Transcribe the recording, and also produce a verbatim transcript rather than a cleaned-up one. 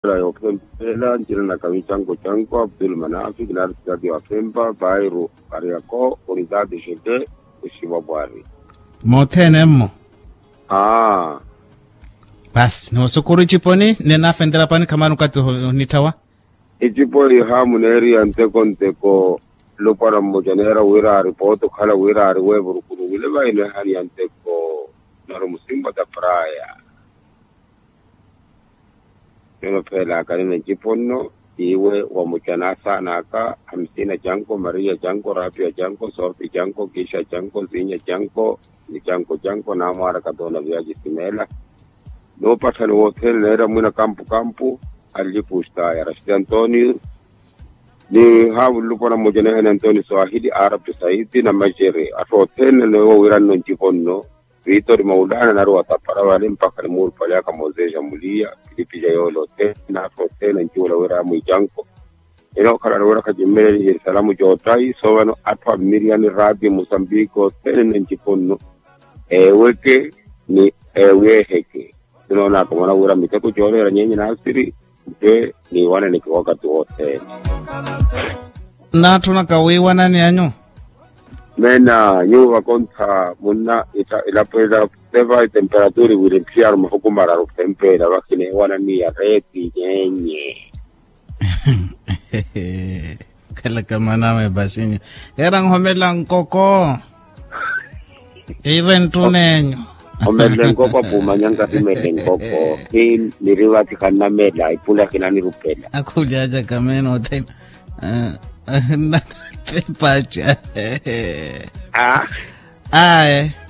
Yophempela ncina na kamicanko canko abdul manafi kinaari sitati wa phempa bairu, kariako unitati xeke, oxiwa pwari. Mothene mmo. Aa. Pasi niwosukuru iciponi ninafentela pani khamari okathi onitthawa. Icipo ihamu neeriya nteko nteko, lupwana mmoca neera wira ari poota okhala wira ari wevurukuru wile vayi neehaniya nteko. Nari musimba ta praya. Yono pheelaka nina ncipo nno, tiiwe wamucana asaana aka, hamsina canko, mariya canko, rapiya canko, sorpi canko, kisha canko, zinya canko, ni canko canko naamwaaraka toona viyacisimeela. Noopatthani wothene neera mwina kampu kampu, alli kusta ya rashidi antonio, ni haavululupwana mmoca neehani antonio swahili arapi saidi na maxere atthu othene neewo wiranno ncipo nno. Vitori maulana nari watapara vale mpakha nimuurupaleyaka moseja muliya, filipi ja yoole othene atthu othene ancuwela wira yamwiicanko. Enookhala ari wira khacimmeleli jerisalamu joottayi soovano atthu a mmiriyani raati musambiki othene nencipo nno, eeweke ni eeweeheke. Sinoonaka omwana wira miteko jooleera nyenye naasiri, nte niiwananeke wakati wothene. Naatthunaka wiiwanani anyu. Meena nyuwo vakontha munna, ilapo ila seva itemperatura iwiri ntthiyaru mahuku mararu khempela vakhineewananiya reeti nyenye. Khalaka manawe paxinyu. Era nhomela nkoko. Ive nttunenyu. Omerele nkoko apumanya nkatimele nkoko. Hi nirivathi khannamela ipula khinanirupela. Akhulyacaka meena othene. Napepaca. Aye.